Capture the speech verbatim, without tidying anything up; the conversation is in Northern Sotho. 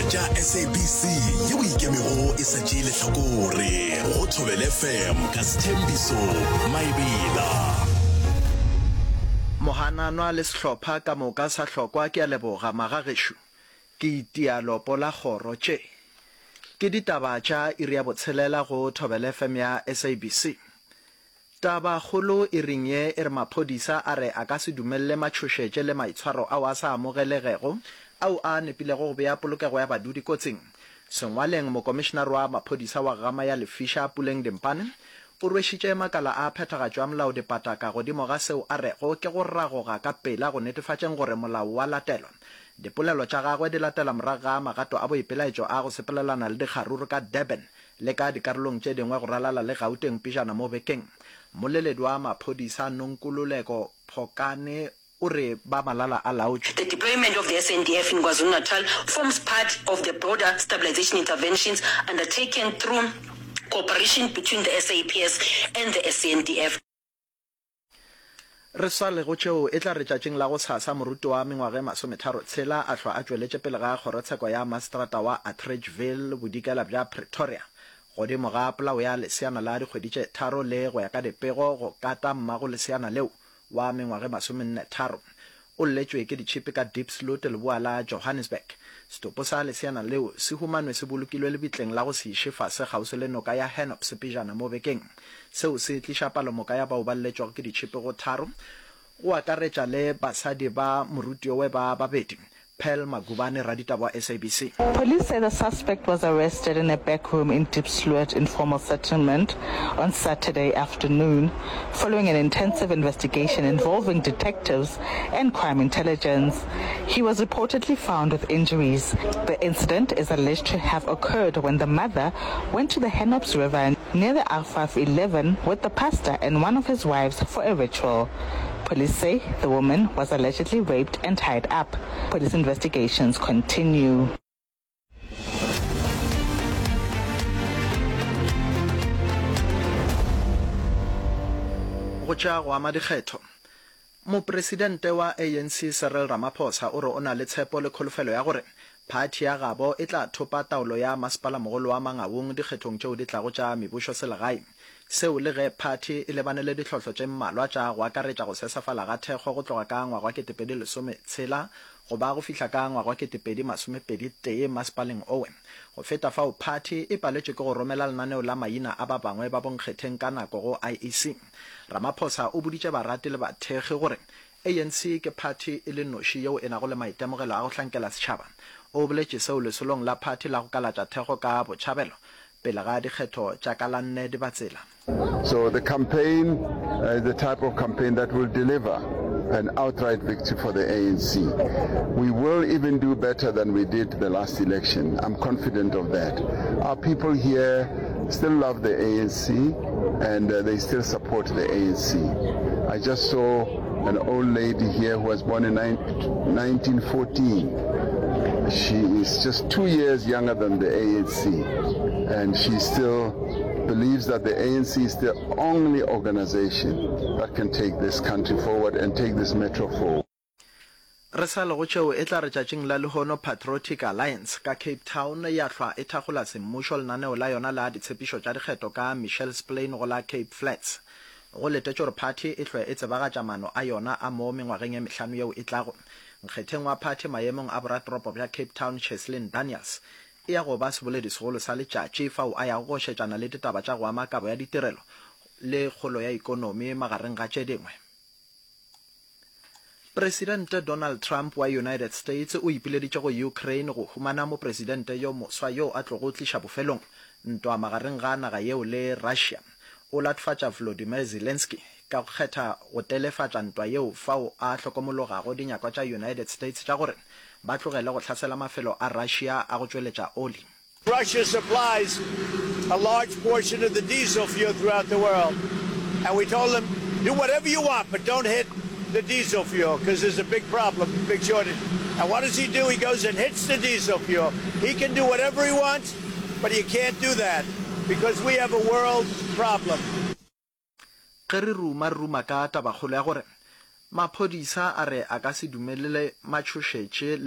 tša SABC yeo e ikemego e sa tšee lehlakore go Thobela FM ka Sthembiso Maebela. Mohananwa le sehlopha ka moka sa hlokwa ke a leboga magagešo ke itia lopo la kgoro tše ke ditaba tša iri ya botshelela go Thobela FM ya SABC. Tabakgolo iring ye e re maphodisa a re a ka se dumelele matšhošetše le maitshwaro ao a sa amogelegego ao a nepilego go bea polokego ya badudi kotsing. Sengwaleng mokomišenare wa maphodisa wa Gama ya Lefiša Puleng Dimpane o rwešitše makala a phethagatšo ya molao dipataka godimo ga seo a rego ke go ragoga ka pela go netefatšeng gore molao wa latelwa. Dipolelo tša gagwe di latela morago ga magato a boipelaetšo a go sepelelana le dikgaruru ka Durban le ka dikarolong tše dingwe go ralala le Gauteng pejana mo bekeng. Mmoleledi wa maphodisa Nonkululeko Phokane o re ba malala a laotšwe. The deployment of the SANDF in KwaZulu-Natal forms part of the broader stabilisation interventions undertaken through cooperation between the SAPS and the SANDF. Re sa le go tšeo, e tla re tšatšing la gosasa moruti wa mengwaga e masometharo tshela a hlwa a tšweletše pele ga kgorotsheko ya maseterata wa Atteridgeville bodikela bja Pretoria godimo ga polao ya leseana la dikgwedi tše tharo le go ya ka dipego go kata mmago leseana leo wa mengwaga e masomenne tharo. O lletšwe ke ditšhipi ka Diepsloot leboa la Johannesburg. Setopo sa leseana leo se humanwe se bolokilwe lebitleng la go se iše fase kgauswi le noka ya Hennops pejana mo bekeng. Seo se tliša palomoka ya bao ba lletšwego ke ditšhipi go tharo, go akaretša le basadi ba morutiowe ba babedi. Pearl Magubane, raditaba wa SABC. Police say the suspect was arrested in a back room in Diepsloot informal settlement on Saturday afternoon following an intensive investigation involving detectives and crime intelligence. He was reportedly found with injuries. The incident is alleged to have occurred when the mother went to the Hennops River near the R five eleven with the pastor and one of his wives for a ritual. Police say the woman was allegedly raped and tied up. Police investigations continue. Go tša go ama dikgetho. Mopresidente wa ANC Cyril Ramaphosa o re o na le tshepo le kholofelo ya gore phathi ya gabo e tla thopa taolo ya masepala-mogolo wa Mangaung dikgethong tšeo di tlago tša mebušoselegae. Seo le ge phathi e lebane le ditlhohlo tše mmalwa tša go akaretša go sesefala ga thekgo go tloga ka ngwaga wa ketepedi lesome tshela go ba go fihla ka ngwaga wa ketepedi masomepedi tee masepaleng owe. Go feta fao phathi e paletšwe ke go romela lenaneo la maina a ba bangwe ba bonkgetheng ka nako go I E C. Ramaphosa o boditše barati le bathekgi gore A N C ke phathi e le noši yeo e nago le maitemogelo a go hlankela setšhaba. O boletše seo lesolong la phathi la go kalatša thekgo ka Botšhabelo pele ga dikgetho tša ka la nne Dibatsela. So the campaign uh, is the type of campaign that will deliver an outright victory for the A N C. We will even do better than we did the last election. I'm confident of that. Our people here still love the A N C and uh, they still support the A N C. I just saw an old lady here who was born in nineteen fourteen. She is just two years younger than the A N C and she still believes that the A N C is the only organization that can take this country forward and take this metro forward. Re sa le go tšeo, e tla re tšatšing la lehono Patriotic Alliance ka Cape Town ya hlwa e thakgola semmušo lenaneo la yona la ditshepišo tša dikgetho ka Mitchells Plain go la Cape Flats. Go letetšwe gore phathi e hlwe e tsebagatša maano a yona a mo mengwageng e mehlano yeo e tlago. Nkgetheng wa phathi maemong a boratoropo bja Cape Town Cheslin Daniels e ya go ba seboledisegolo sa letšatši fao a yago go šetšana le ditaba tša go ama kabo ya ditirelo le kgolo ya ikonomi magareng ga tše dingwe. Presidente Donald Trump wa United States o ipileditše go Ukraine go humana mopresidente yo moswa yo a tlogo tliša bofelong ntwa magareng ga naga yeo le Russia. O latofatša Volodymyr Zelensky ka go kgetha go telefatša ntwa yeo fao a hlokomologago dinyakwa tša United States tša gore ba tlogele go hlasela mafelo a Russia a go tšweletša oli. Russia supplies a large portion of the diesel fuel throughout the world. And we told them, do whatever you want, but don't hit the diesel fuel because there's a big problem, big shortage. And what does he do? He goes and hits the diesel fuel. He can do whatever he wants, but you can't do that because we have a world problem. Ge re ruma re ruma ka tabakgolo ya gore maphodisa a re a ka se dumelele matšhošetše le